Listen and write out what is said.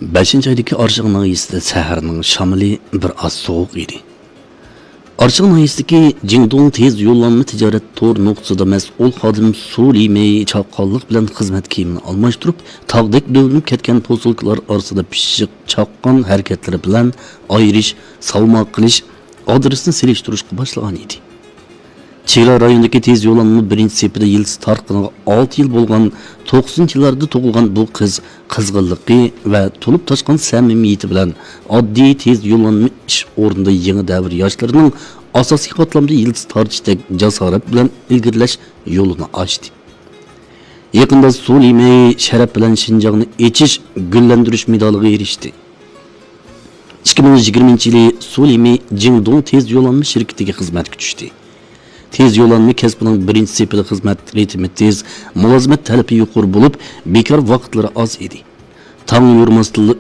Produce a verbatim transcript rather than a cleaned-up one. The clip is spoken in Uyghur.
بەشىنچى ئايدىكى ئارشاڭ ناھىيەسىدە سەھەرنىڭ شامىلى بىر ئاز سوغۇق ئىدى. ئارشاڭ ناھىيەسىدىكى جىڭدۇڭ تېز يوللانما تىجارەت تور نۇقتىسىدا مەسئۇل خادىم سۇ لىمېي چاققانلىق بىلەن خىزمەت كىيىمىنى ئالماشتۇرۇپ، تاغدەك دۆۋىلىنىپ كەتكەن پوسۇلكىلار ئارىسىدا پىششىق چاققان ھەرىكەتلىرى بىلەن ئايرىش، ساۋما قىلىش، ئادرېسنى سېلىشتۇرۇشقا باشلىغان ئىدى. چېگرا رايونىدىكى تېز يوللانما بىرىنچى سېپىدە يىلتىز تارتقىنىغا ئالتە يىل بولغان توقسىنىنچى يىللاردا تۇغۇلغان بۇ قىز قىزغىنلىقى ۋە تولۇپ تاشقان سەمىمىيىتى بىلەن ئاددىي تېز يوللانما ئىش ئورنىدا يېڭى دەۋر ياشلىرىنىڭ ئاساسىي قاتلامدا يىلتىز تارتىشتەك جاسارەت بىلەن ئىلگىرىلەش يولىنى ئاچتى. يېقىندا سۇ لىمېي شەرەپ بىلەن شىنجاڭنى ئېچىش، گۈللەندۈرۈش مېدالىغا ئېرىشتى. ئىككى مىڭ يىگىرمىنچى يىلى سۇ لىمېي جىڭدۇڭ تېز يوللانما شىركىتىگە خىزمەتكە چۈشتى. تېز يوللانما كەسپىنىڭ بىرىنچى سېپىدە خىزمەت رىتىمى تېز، مۇلازىمەت تەلىپى يۇقىرى بولۇپ، بىكار ۋاقىتلىرى ئاز ئىدى. تاڭ يورۇماستىنلا